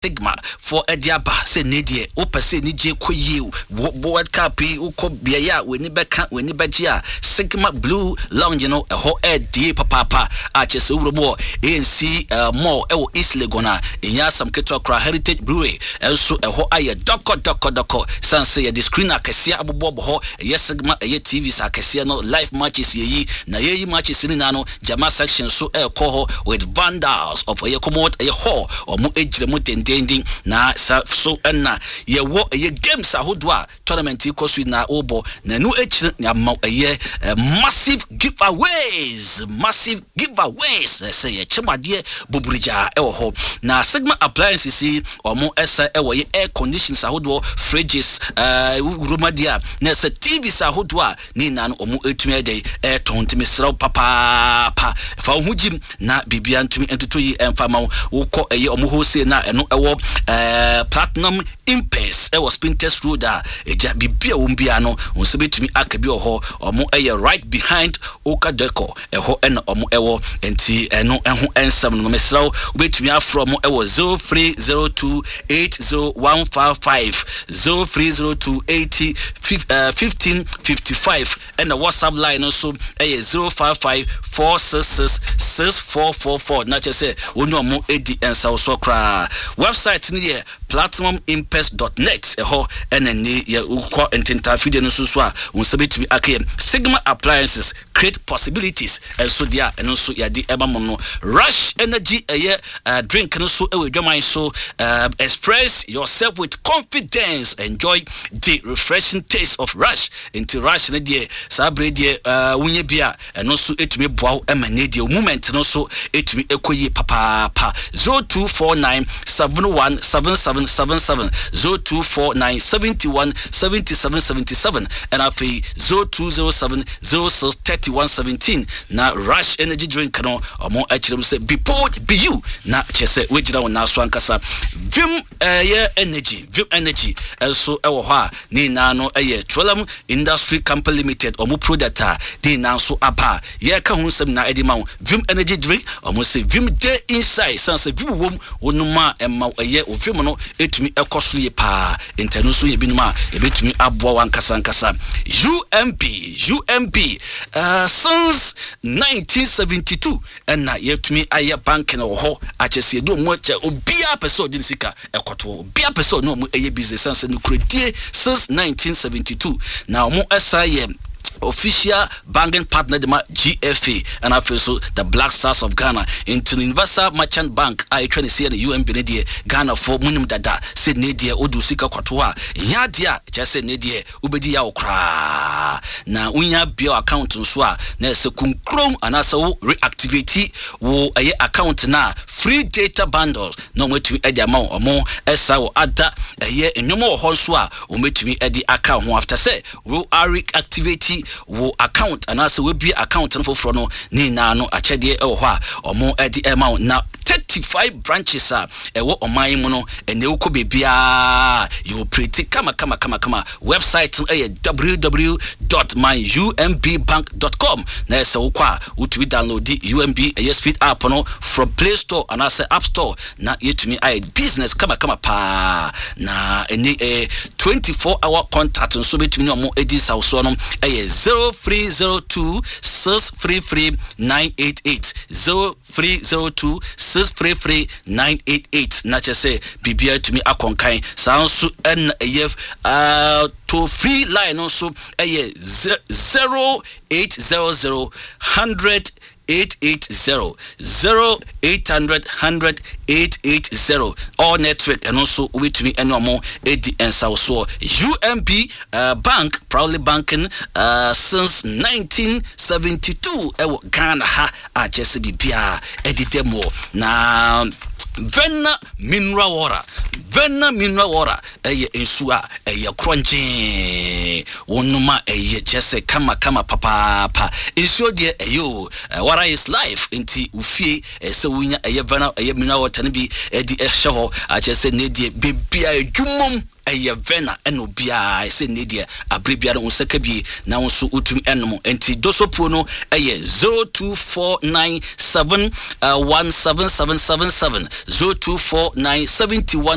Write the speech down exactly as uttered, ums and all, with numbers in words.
Sigma foɔ ɛde aba sɛ ne deɛ wopɛ sɛ anigye kɔ yie, World Cup yi wokɔ beaeɛ a w'ani bɛka, w'ani bɛgye a, Sigma Blue Lounge no ɛhɔ ɛɛdie papaapa a kyerɛ sɛ wowura mu wɔ A N C uh, Mall ɛwɔ East Legon a, ɛnyɛ asɛm ketewa koraa. Heritage Brewery ɛnso ɛhɔ ayɛ dɔkɔ dɔkɔ dɔkɔ san sɛ yɛde screen akɛseɛ abobɔ bɔ hɔ. Ɛyɛ Sigma, ɛyɛ T Vs akɛseɛ no, live matches yɛyi na yɛyi matches no nyinaa no, gyama section so ɛɛkɔ hɔ with vandals of ɛyɛ Commonwealth ɛyɛ hall, ɔmo gyina mu dendenden. Na sa so ɛna yɛwɔ ɛyɛ games ahodoɔ a tournament yi kɔ so na wɔbɔ na ɛno akyire ama ɛyɛ massive giveaways, massive giveaways, sɛ yɛkyɛm adeɛ buburigyaa ɛwɔ hɔ. Na Sigma Appliances yi, ɔmo ɛsɛ ɛwɔ yɛ air conditions ahodoɔ, fridges, ɛɛ wuromadeɛ a na ɛsɛ T Vs ahodoɔ a ne nyinaa no ɔmo etumi ɛdɛ ɛɛtɔn. Ntumi srɛw papaapa, fa wo ho gyim na biribia ntumi ntoto yi ɛmfa ma wo. Wokɔ ɛyɛ ɔmo wholesale na ɛno ɛwɔ ɛɛ Platinum Impes ɛwɔ Spintex Road a ɛgya biribi a wɔm biara no, wɔn nsa bɛtumi aka bi wɔ hɔ. Ɔmo ɛyɛ right behind Oka Deco, ɛhɔ ɛna ɔmo ɛwɔ. Nti ɛno ɛho ɛnsɛm no, mesrɛw, wobɛtumi afrɛ ɔmo ɛwɔ zero three zero two eight zero one five five, zero three zero two eighty fifteen fifty five, ɛna WhatsApp line no nso ɛyɛ zero five five four six six six four four four. Na kyerɛ sɛ wɔne ɔmo edi nsawosoɔ koraa. Website no yɛ platinum impes dot net. Ɛhɔ ɛna ne yɛ wokɔ ntentafidie no nso so a, wɔn nsa bɛtumi aka yɛ. Sigma Appliances, create possibilities. Ɛnso deɛ a ɛno nso yɛde ɛma mo no, Rush Energy ɛyɛ uh, drink no so ɛwɔ adwaman so. uh, express yourself with confidence, enjoy the refreshing taste of Rush. Nti Rush no deɛ, saa bere deɛ uh, wonyɛ bi a, ɛno nso ɛtumi boa wo ɛma ne deɛ moment no nso ɛtumi ɛkɔ yie papaapa. zero two four nine seven one seven seven seven seven, zero two four nine seventy-one seventy-seven seventy-seven, ɛna afei zero two zero seven zero six thirty-one seventeen. Na Rush Energy drink no, ɔmo akyerɛ mu sɛ be bold, be you, na kyerɛ sɛ wogyina wo nan so ankasa. Vim ɛyɛ Energy, Vim Energy ɛnso ɛwɔ hɔ a ne nyinaa no ɛyɛ Twelem Industry Company Limited ɔmo product a ne nyinaa nso aba a yɛreka ho nsɛm nyinaa ɛde ma wo. Vim Energy drink, ɔmo sɛ vim dey inside, san sɛ vim wom wɔnom a ɛma ɛyɛ o vim no ɛtumi ɛkɔ so yie paa. Ntɛno nso yɛ binom a ɛbɛtumi aboa wo ankasa ankasa. U M B, U M B uh, since nineteen seventy-two ɛna yɛtumi ayɛ bank no wɔ hɔ akyɛ sɛ yɛde ɔmo akyɛ. Obiara pɛ sɛ ɔde ne sika ɛkɔto, obiara pɛ sɛ ɔne ɔmo ɛyɛ business san sɛ nokoradie since nineteen seventy-two. Na ɔmo ɛsa yɛ official banking partner de ma G F A ɛna afei so the Black Stars of Ghana. Nti no Universal Merchant Bank a ɛtwa ne seɛ no U M B no deɛ, Ghanafoɔ munim dada sɛ ne deɛ wode wo sika kɔto a, ɛnyɛ adeɛ a kyerɛ sɛ ne deɛ wobɛdi yawo koraa. Na wonya bia account nso a, na ɛsɛ kunkurom anaasɛ wo reactivate wo ɛyɛ account no a, free data bundles na ɔmatumi ɛde ama wo. Ɔmo ɛsa wɔ ada ɛyɛ nneɛma wɔ hɔ nso a wɔmɛtumi ɛde aka ho after sɛ wo reactivate wo account anaasɛ wabie account no foforɔ no, ne nyinaa no akyɛdeɛ ɛwɔ hɔ a ɔmo ɛde ɛma wo. Na thirty-five branches a ɛwɔ ɔman yi mu no, ɛnɛ wokɔ beebiaa yɛ operate kama kama kama kama. Website no ɛyɛ w w w dot myumbbank dot com. Na ɛsɛ wokɔ a, wotumi download U M B ɛyɛ speed app no from Play Store anaasɛ App Store na yɛtumi ayɛ business kama kama paa. Na ɛne ɛɛ twenty-four hour contact nso bɛtumi ne ɔmo edi nsawsoɔ no ɛyɛ zero three zero two six three three nine eight eight, zero three zero two six three three nine eight eight. Na kyerɛ sɛ biribiara tumi akɔnkan saa nso. Ɛna ɛyɛ uh, toll free line no nso ɛyɛ zero eight zero zero hundred eight eight zero, zero eight hundred hundred eight eight zero. All network ɛno nso wobɛtumi ɛne ɔmo ɛdi nsawosoɔ. U M B uh, Bank, proudly banking uh, since nineteen seventy-two ɛwɔ Ghana ha a kyerɛ sɛ biribiaa ɛdeda mu. Na Vena Mineral Water, Vena Mineral Water ɛyɛ nsuo a ɛyɛ korɔngyee, wɔnom a ɛyɛ kyerɛ sɛ kama kama papaapa. Nsuo deɛ ɛyɛ o, water is life. Nti ofie ɛsɛ wonya ɛyɛ Vena ɛyɛ mineral water no bi ɛde ɛhyɛ hɔ akyerɛ sɛ ne deɛ beebia adwumam ɛyɛ Vena ɛna obiara ɛsɛ ne deɛ abere biara wo nsa ka bie na wo nso wotumi ɛnom. Nti dosopuo no ɛyɛ zero two four nine seven one seven seven seven seven, zero two four nine seventy one.